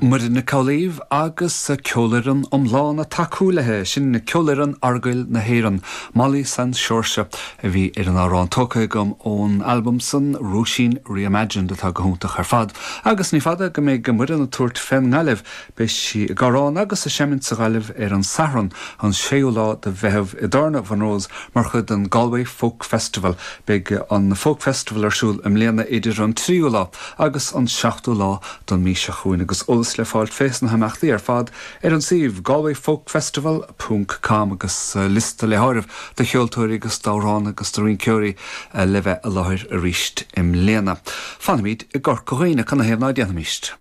Muireann Nic Amhlaoibh agus ceolfhoireann iomlán ag tacú léi, sin Ceolfhoireann Argail na hÉireann, Molly San Seoirse a bhí ar an amhrán, tógtha agam ón albam san, Róisín Reimagined, atá go hiontach ar fad. Agus ní fada go mbeidh Muireann ag tabhairt fén nGaillimh, beidh sí ag amhrán agus ag seimint sa Ghaillimh ar an Satharn, an 6ú lá de Mheitheamh i dTábhairne Mhonroe's mar chuid den Galway Folk Festival. Beidh an Folk Festival ar siúl i mbliana idir an 3ú lá agus an 7ú lá don mí seo chugainn agus eolas le fáilt fés na himeachtaí ar fad ar an suíomh galwayfolkfestival ponc com agus liosta le háireamh de cheoltóirí agus d'amhránaithe agus de rinceoirí le bheith i láthair arís i mbliana. Fanfaimid i gCorca Dhuibhne, canathaobh ná déanfaimíst?